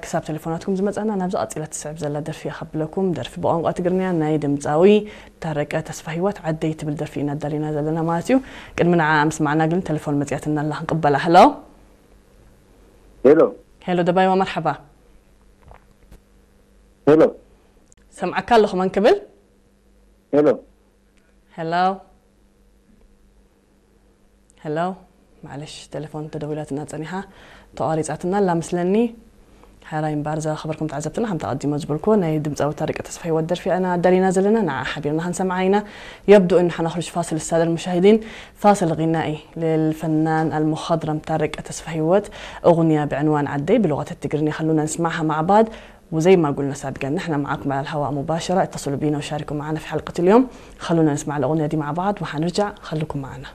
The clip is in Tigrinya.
ክሳብ ቴሌፎናትኩም ዝመጻና፣ ናብዚ ቀጺላ ትስዕብ ዘላ ደርፊ እያ ከብለኩም። ደርፊ ብቋንቋ ትግርኛ ናይ ድምጻዊ ታረቀ ተስፋ ህይወት ዓደይ ትብል ደርፊ ኢና ኣዳሊና ዘለና ማለት እዩ። ቅድሚ ንዓ ምስማዕና ግን ቴሌፎን መጽያትና ኣላ፣ ክንቅበላ። ሄሎ። ሄሎ። ሄሎ ደባይዋ፣ መርሓባ። ሄሎ። ሰምዓካ ኣለኹ፣ መን ክብል? ሄሎ። ሄሎ። ሄሎ። ማዕለሽ፣ ቴሌፎን ተደዊላትና ጸኒሓ፣ ተቋሪጻትና ኣላ ምስለኒ። ሕራይ እምበኣር፣ ዝኸበርኩም ተዓዘብትና፣ ከምቲ ኣቐዲመ ዝበልኩዎ፣ ናይ ድምጻዊ ታረቀ ተስፋ ህይወት ደርፊ ኢና ኣዳሊና ዘለና፣ ንዓ ሓቢርና ክንሰምዓ ኢና። يبدو إن حنخرج فاصل، السادة المشاهدين، فاصل غنائي للفنان المخضرم طارق تسفى هيوت، أغنية بعنوان عدي بلغة التقرينية. خلونا نسمعها مع بعض، وزي ما قلنا سابقا، نحن معاكم على الهواء مباشرة، اتصلوا بينا وشاركوا معنا في حلقة اليوم. خلونا نسمع الأغنية دي مع بعض وحنرجع، خلوكم معنا.